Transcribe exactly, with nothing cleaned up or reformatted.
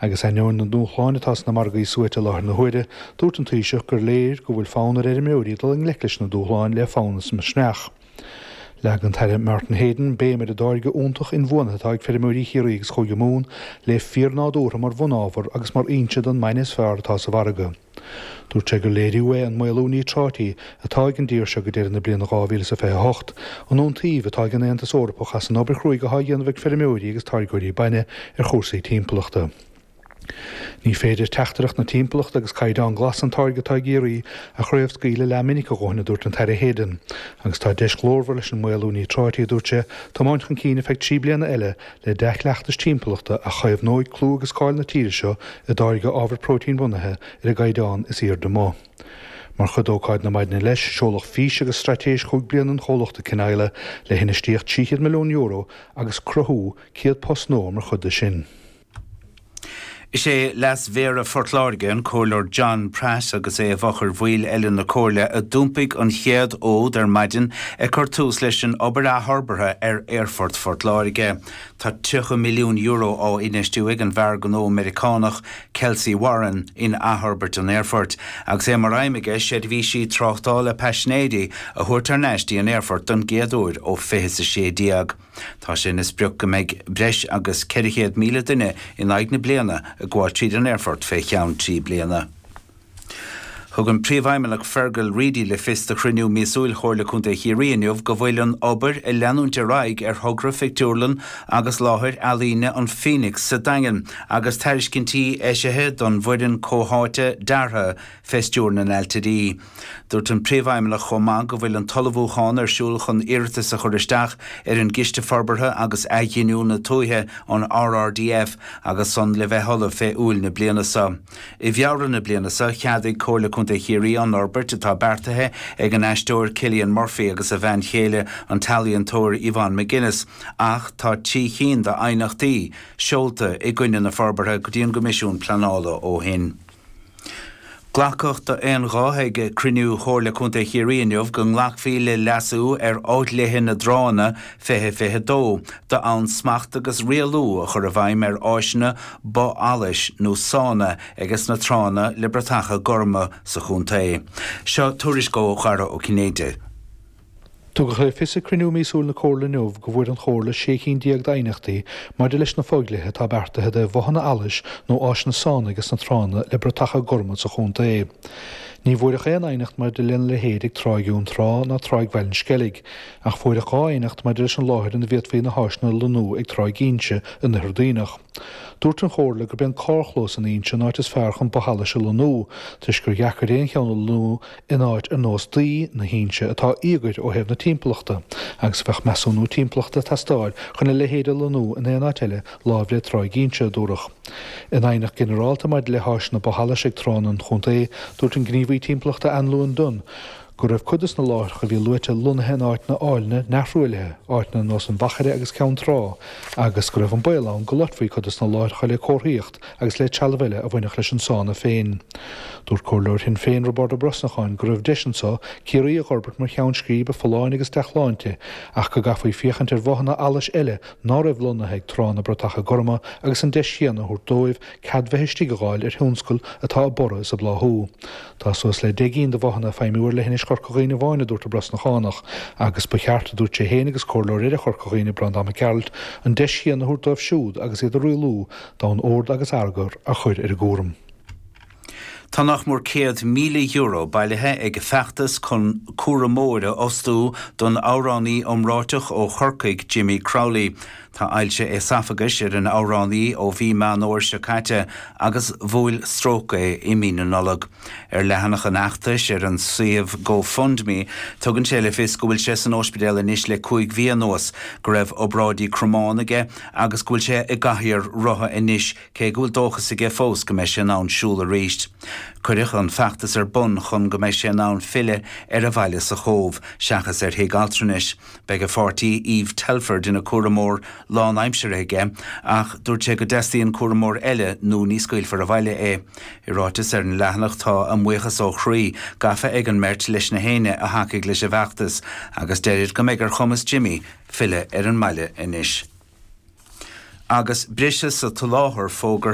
Agus ainneoin na ndúshlán atá sna margaí suaite i láthair na huaire, dúirt an Taoiseach gur léir go bhfuil fonn ar fheirmeoirí dul i ngleic leis na dúshláin le fonn is misneach. Leag an tAire Martin Heydon béim ar an dtáirge iontach inbhuanaithe atá ag feirmeoirí Chiarraí agus Chúige Mumhan le fíornádúrtha mar bhunábhar agus mar fhoinse don mbainne is fearr atá sa mhargadh. Dúirt sé gur léiriú é an maolú níotráití atá ag an dtír seo go deireadh na bliana dhá mhíle is a fiche a hocht, an iontaoibh atá ag an Aontas Eorpach as an obair chruaidh atá á dhéanamh ag feirmeoirí agus táirgeoirí bainne ar chúrsaí timpeallachta. Ní féidir teachtaireacht na timpeallachta agus caighdeán glas an táirge atá i gCiarraí a chraobhscaoileadh leathmhinic a dhóthain, a dúirt an tAire Heydon. Agus tá deis ghlórmhar leis an maolú níotráití, a dúirt sé, tiomáint chun cinn ar feadh trí bliana eile le dea-chleachtais timpeallachta a chaomhnóidh clú agus cáil na tíre seo i dtáirgeadh ábhar próitéin-bhunaithe ar an gcaighdeán is airde amuigh. Mar chuid d'ócáid na maidine leis, seoladh fís agus straitéis chúig bliana an chomhlachta Cineála le hinfheistíocht trí chéad milliún euro agus cruthú céad post nua mar chuid de sin. Is é Leas-Mhéara Phort Láirge, an Comhairleoir John Pratt agus é i bhfochair bhaill eile na Comhairle a d'iompaigh an chéad fhód ar maidin ag cur tús leis an obair athfhorbartha ar Aerfort Phort Láirge. Tá tríocha milliún euro á infheistiú ag an bhfear gnó Meiriceánach Kelcy Warren in athfhorbairt an aerfoirt, agus é mar aidhm aige seirbhísí tráchtála paisinéirí a thabhairt thar n-ais dtí an aerfort don gcéad uair ó fiche a sé déag. Tá sé ina sprioc go mbeidh breis agus ceithre chéad míle duine in aghaidh na bliana ag gabháil tríd an aerfort fé cheann trí bliana. Thug an Príomhfheidhmeannach Fergal Reidy le fios do chruinniú míosúil Chomhairle Contae Chiarraí inniu go bhfuil an obair ag leanúint ar aghaidh ar thogra phictiúrlann agus láthair ealaíne an Phoenix sa Daingean agus tairiscintí eisithe don bhfoireann comhtháite deartha fé stiúir na n-ailtirí. Dúirt an Príomhfheidhmeannach chomh maith go bhfuil an t-ullmhúchán ar siúl chun iarratas a chur isteach ar an gCiste Forbartha agus Athghiniúna Tuaithe, an R R D F, agus san le bheith ullamh fé Iúil na bliana seo. I bhFeabhra na bliana seo, cheadaigh Comhairle Contae Chiarraí an fhorbairt atá beartaithe ag an aisteoir Cillian Murphy agus a bhean chéile an t-ealaíontóir Yvonne McGuinness, ach tá trí chinn d'aighneachtaí seolta i gcoinne na forbartha go dtí an gCoimisiún Pleanála ó shin. Glacadh d'aon ghuth ag cruinniú Chomhairle Contae Chiarraí inniu go nglacfaí le leasú ar Fhodhlíthe na dTránna fiche fiche dó d'fhonn smacht agus rialú a chur i bhfeidhm ar áiseanna both allais nó sána ages na tránna le bratacha gorma sa chontae. Seo tuairisc ó Dhara Ó Cinnéide. Tugadh le fios ag cruinniú míosúil na Comhairle inniu go bhfuair an Chomhairle sé cinn déag d'aighneachtaí maidir leis na fodhlíthe atá beartaithe do bhothanna allais nó áiseanna sána ages na tránna le bratacha gorma sa chontae. Ní bhfuaireadh aon aighneacht maidir lena leithéid ag Tráigh Dhún Trá ná Tráigh Bhaile an Sceilg, ach fuaireadh dhá aighneacht maidir leis an láthair ina bhféadfaí na háiseanna a lonnú ag Tráigh Inse in Oirthear Duibhneach. Dúirt an Chomhairle gurb é an carrchlós in Inse an áit is fearr chun both allais a lonnú, toisc gur dheacair aon cheann a lonnú in áit ar nós Daoi na hInse atá íogair ó thaobh na timpeallachta, agus bheadh measúnú timpeallachta ag teastáil chun a leithéid a lonnú in aon áit eile láimh le Tráigh Inse, a dúradh. In aighneacht ghinearálta maidir le háiseanna both allais ag tránna an chontae, dúirt an gníomhaí timpeallachta Anluan Dunne go raibh cuid des na láithreacha a bhí luaite lonnaithe in áiteanna áilne neamhthruaillithe, áiteanna ar nós an Mhachaire agus Ceann Trá, agus go raibh an baol ann go loitfí cuid des na láithreacha le comharthaíocht agus le trealamh eile a bhainfeadh leis an sána féin. Dúirt Comhairleoir Shinn Féin Roibeárd Ó Brosnacháin go raibh deis anseo Ciarraí a fhorbairt mar cheann scríbe folláine agus dea-shláinte ach go gcaithfí féachaint ar bhothanna allais eile ná raibh lonnaithe ag tránna bratacha gorma agus an deis chéanna a thabhairt dóibh cead bheith istigh a fháil ar thionscal atá ag borradh is ag bláthú. Tá suas le deich gcinn de bhothanna ag feidhmiú ar leithinis Chorca Dhuibhne amháin, a dúirt an Brosnachánach, agus ba cheart, a dúirt sé féin agus comhairleoir eile Chorca Dhuibhne, Breandán Mac Gearailt, an deis chéanna a thabhairt dóibh siúd agus iad a rialú d'fhonn ord agus eagar a chur ar a gcúram. Tá nach mór céad míle euro bailithe ag feachtas chun cúramóir a fhostú don amhránaí iomráiteach ó Chorcaigh Jimmy Crowley. Tá ailse éasafagais ar an amhránaí ó mhí Meán Fhómhair seo caite agus bhuail stróc é i mí na Nollag. Ar leathanach an fheachtais ar an suíomh GoFundMe, tugann sé le fios go bhfuil sé san ospidéal anois le cúig mhí anuas, go raibh obráidí cromán aige agus go bhfuil sé i gcathaoir rotha anois cé go bhfuil dóchas aige fós go mbeidh sé in ann siúl arís. Cuireadh an feachtas ar bun chun go mbeidh sé in ann filleadh ar a bhaile sa Chóbh, seachas ar thigh altranais. Beidh a pháirtí Eve Telford ina cúramóir lánaimseartha aige, ach dúirt sé go dteastaíonn cúramóir eile nó ní scaoilfear abhaile é. I ráiteas ar an leathanach tá a mbuíochas ó chroí gafa ag an mbeirt leis na héinne a thacaigh leis an bhfeachtas, agus deirid go mbeidh ar chumas Jimmy filleadh ar an mbaile anois. Agus briseadh sa tsoláthar fógartha.